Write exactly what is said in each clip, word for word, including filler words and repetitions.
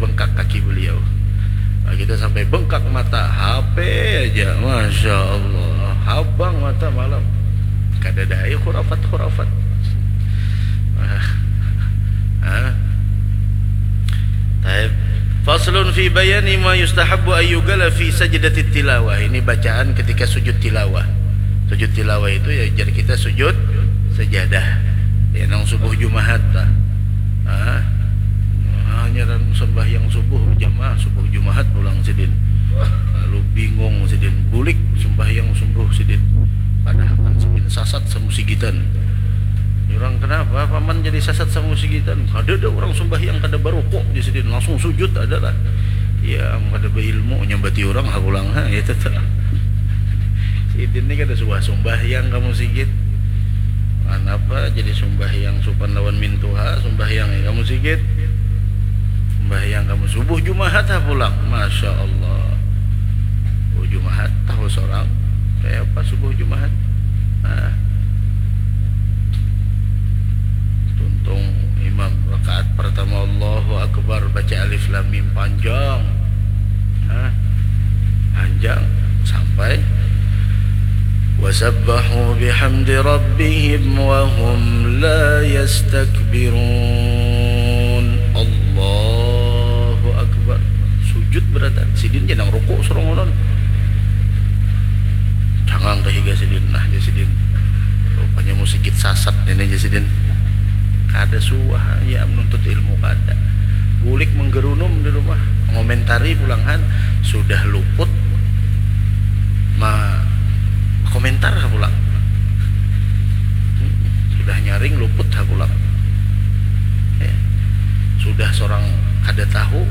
bengkak kaki beliau. Nah, kita sampai bengkak mata, H P aja, masya Allah, habang mata malam. Kada ada ai khurafat-khurafat. Ah. Ah. Taib. Faslun fi bayani ma yustahabbu ayyugala fi sajdatit tilawah. Ini bacaan ketika sujud tilawah. Sujud tilawah itu ya jar kita sujud sajadah. Ya nang subuh Jumahat lah. Ah. Hanya sembahyang subuh jamaah, subuh Jumahat pulang sidin. Lalu bingung sidin, bulik sembahyang subuh sidin. Padahal kan sidin sasat samusigitan. Orang kenapa paman jadi sasat samusigitan? Kada ada orang sembahyang kada barukuk di sidin, langsung sujud adalah. Ya, kada beilmu nyambati orang ha pulang ha, itu tuh. Sidin ni kada suah sumbahyang kamu sigit. Anapa jadi sumbahyang supan lawan mintuha, sumbahyang kamu sigit. Sumbahyang kamu subuh Jumahat ha pulang. Masya Allah. Subuh Jumahat tahu seorang. Kayak apa subuh Jumahat? Nah. Tuntung imam rakaat pertama Allahu Akbar baca alif lam mim panjang. Hah? Panjang sampai wasabbahu bihamdi rabbihim wa hum la yastakbirun. Allahu Akbar. Sujud beratan sidin jangan ruku surongonon. Cangang ke higa sidin nah ja sidin. Rupanya musigit sasat ini ja sidin. Kada suah ya menuntut ilmu kada. Bulik menggerunum di rumah, mengomentari pulang han sudah luput ma komentar ha pulang. Sudah nyaring luput ha pulang. Ya. Sudah seorang kada tahu,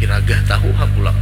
piragah tahu ha pulang.